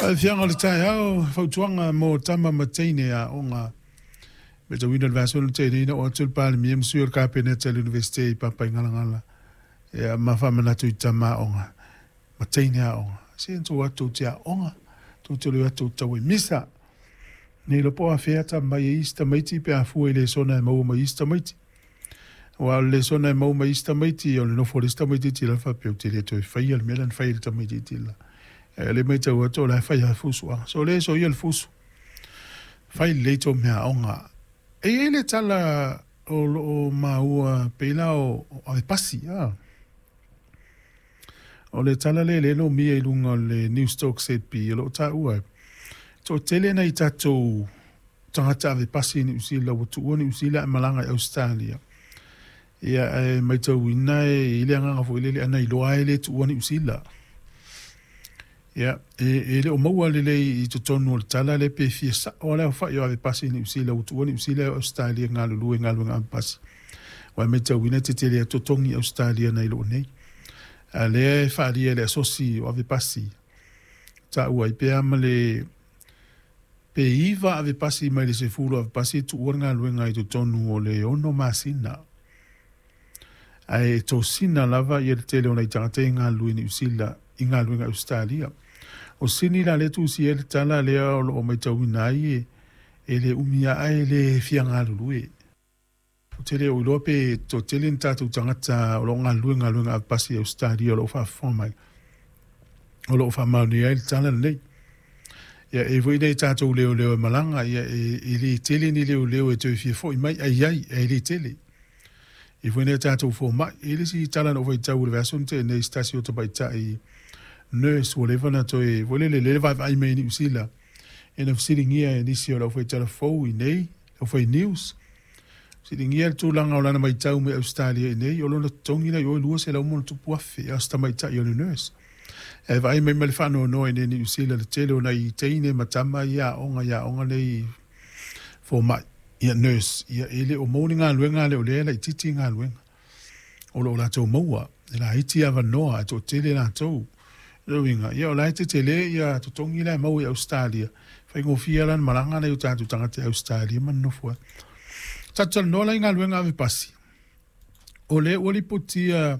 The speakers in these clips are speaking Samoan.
Aafiaga o le taeao, fautuaga mo tama ma teine aoga. Matauina i le vaiaso na tea nei na oo atu le Palemia ma sui o le Kapeneta i le Iunivesite i Papaigalagala ia ma faamanatu i tama aoga ma teine aoga. Se na tou o atu tou te aoga, tou te le o atu tou te tau ai misa. Ne iloa po o afea ta mai ai isi tamaiti pe a fua i lesona e maua mai isi tamaiti. Aua o le lesona e maua mai isi tamaiti, o le nofo o le isi tamaitiiti la faapea ou te le toe faia le mea lea na fai e le tamaitiiti la. Ae o lea e matau atu o la e fai lava fusu. A sole soia le fusu. Fai lelei tou meaaoga. E i ai le tala o lo o maua pei la o avepasi. A. O le tala lea lea e lomia i luga o le Newstalk ZB o lo o taua e toatele nai tatou tagata avepasi i Niu Sila ua tuua Niu Sila ae malaga i Ausetalia. Ia ae maitauina e i ai le agaga foi lele ana iloa lava e le tuua Niu Sila. Ia, e le o maua lelei i totonu o le tala lea pe fia sao lava le aofai o avepasi i Niu Sila ua tuua Niu Sila ae o Ausetalia e galulue i galuega avepasi. Aua e maitauina e tetele atu totogi i Ausetalia nai lo nei. A o lea e faaalia e le asosi o avepasi, taua ai pea ma le pe 9 avepasi mai le 10 avepasi e tuua le galuega i totonu o le 6 masina. Ae tosina lava ia le tele o nai tagata ia e galulue i Niu Sila i galuega i Ausetalia. O Sini la lea e tusia ai le tala lea o lo o maitauina ai e le umi lava ae le fia galulue. Ou te le o iloa pe toatele ni tatou tagata o lo o galulue i galuega avepasi i Ausetalia o lo o faafofoga mai, o lo o faamaonia ai le tala lenei. Ia, e i ai foi nai tatou leoleo e malaga, ia e le tele ni leoleo e toe fia foi mai, ae i ai, ae le tele. E i ai foi nai a tatou fomai. E i ai le isi tala na ou faitau i le vaiaso na tea nei i se tasi o tamaitai nurse ua leva ona toe, foi lele, lea e vaavaai mai i Niu Sila, ia na fesiligia e nisi o le aufaitala fou i inei, le aufai news, Fesiligia le tulaga o lana matau mai Ausetalia i nei, o lona totogi la i o e $200,000+, a o se tamaitai o le nurse. Ae vaai mai ma le faanoanoa i nei Niu Sila le tele o nai teine ma tama ia aoga i aoga nei fomai, ia nurse, ia e le o maua ni galuega a le o lea e laitiiti galuega o lo o latou maua, e laiti avanoa ae toatele latou. O lona uiga, ia o la e tetele ia totogi la e maua i Ausetalia, faigofie lava la ona malaga nai o tatou tagata i Ausetalia ma nonofo ai. Tatou talanoa la i galuega ave pasi. O lea ua lipotia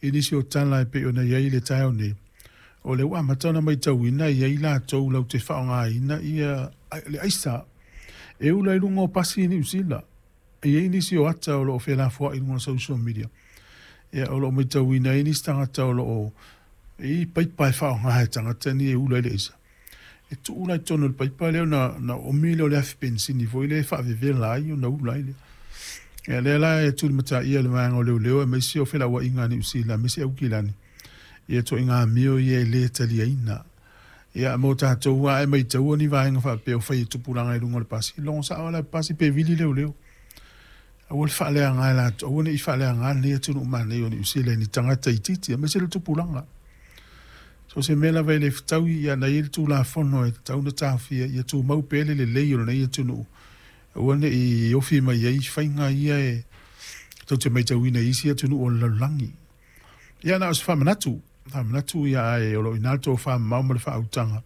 i nisi o tala e pei ona i ai i le taeao nei, o lea ua amata ona matauina e i ai latou latou te faaaogaina ia le aisa e ula i luga o pasi i Niu Sila. E i ai nisi o ata o lo o felafoai i luga o social media, ia, o lo o matauina ai nisi tagata o lo o i ai paipa e faaaoga e tagata nei e ula ai le aisa. E tuu la i totonu o le paipa lea ona oomi lea o le afi penisini foi lea e faavevela ai ona ula ai lea. Ia lea la e tulimataia e le vaega o leoleo aemaise o felauaiga a Niu Sila aemaise Aukilani ia ituaiga amio ia e le taliaina. Ia mo tatou a e maitaua ni vaega faapea o fai e tupulaga i luga o le pasi, logo sao lava le pasi pe vili leoleo. Aua le faaleaga e latou, aua ne i faaleaga lenei atunuu manaia o Niu Sila i ni tagata itiiti aemaise le tupulaga. So o se mea lava e le fetaui, ia na i ai le Tulafono e tatau ona taofia ia tumau pea le lelei o lenei atunuu, aua ne i ofi mai ai faiga ia e tou te maitauina i isi atunuu o le lalolagi. Ia na o se faamanatu, faamanatu ia ae o lo o i ina le tofamamao ma le faautaga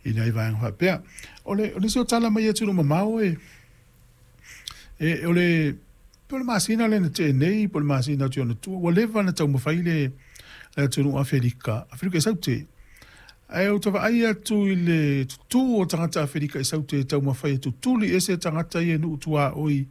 i nai vaega faapea. O le, o nisi o tala mai atunuu mamao e, e, o le, po o le masina lea na tea nei, po o le masina atu i ona tua, ua leva ona taumafai le, le atunuu Afelika, Afelika i Saute. Ae ou te vaai atu i le tutū o tagata Afelika i Saute e taumafai e tutuli ese tagata ia i nuu tuaoi.